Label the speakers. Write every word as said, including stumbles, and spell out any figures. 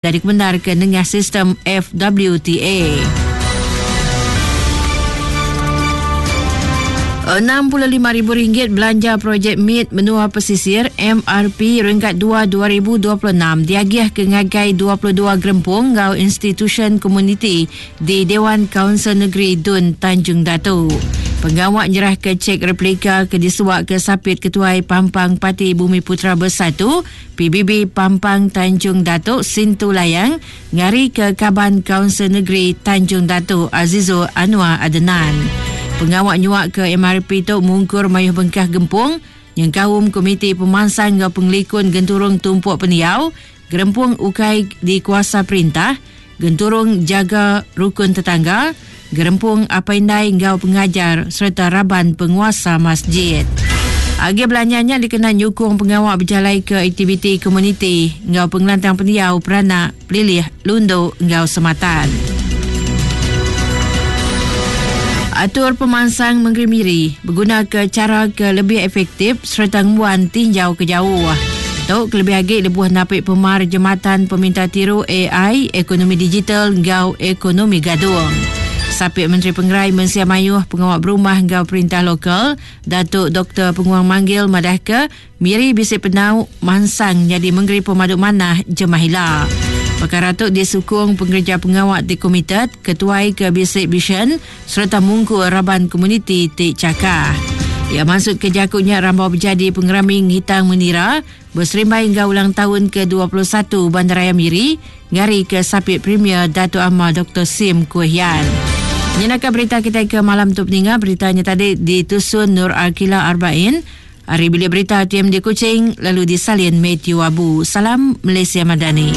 Speaker 1: Dari kebenar ke nengah sistem F W T A. enam puluh lima ribu ringgit belanja projek M I T Menua Pesisir M R P renggat dua dua ribu dua puluh enam diagih ke ngagai dua puluh dua gerempung ngau institution komuniti di Dewan Kaunsil Negeri Dun Tanjung Datu. Pengawak nyerah ke cek replika ke disuak ke Sapit Ketuai Pampang Parti Bumi Putra Bersatu P B B Pampang Tanjung Datuk Sintu Layang ngari ke Kaban Kaunsil Negeri Tanjung Datuk Azizul Anwar Adenan. Pengawak nyuak ke M R P tu mungkur mayuh bengkah gempung nyengkaum Komiti Pemansang ngau Pengelikun Genturung Tumpuk Peniau, Gerempung Ukai di Kuasa Perintah, Genturung Jaga Rukun Tetangga, Gerempung Apa Indai ngau Pengajar serta Raban Penguasa Masjid. Agi belanjanya dikena nyukung pengawak berjalai ke aktiviti komuniti ngau pengelantang peniau peranak pelilih Lundu ngau Sematan. Atur pemansang Mengeri Miri berguna ke cara ke lebih efektif serta ngembuan tinjau ke jauh. Tok kelebih agi lebuh napik pemar jematan peminta tiru A I, ekonomi digital ngau ekonomi gadung. Sapit Menteri Pengerai Mensia Mayuh Pengawak Berumah ngau Perintah Lokal Datuk Doktor Penguang Manggil madah ke Miri bisi penau mansang jadi Mengeri Pemaduk Manah Jemahila. Perkara tu disukung pengerja pengawak di komited, ketuai ke Bisik Vision serta mungku raban komuniti ti cakah. Ia masuk ke jakunya rambau berjadi pengeraming hitang menira berserimbai hingga ulang tahun ke dua puluh satu Bandaraya Miri ngari ke Sapit Premier Datuk Amar Doktor Sim Kui Hian. Nyenaka berita kita ke malam tu peninga, beritanya tadi ditusun Nur Arkila Arbain. Hari bilik berita T M D Kuching lalu disalin Matthew Abu. Salam Malaysia Madani.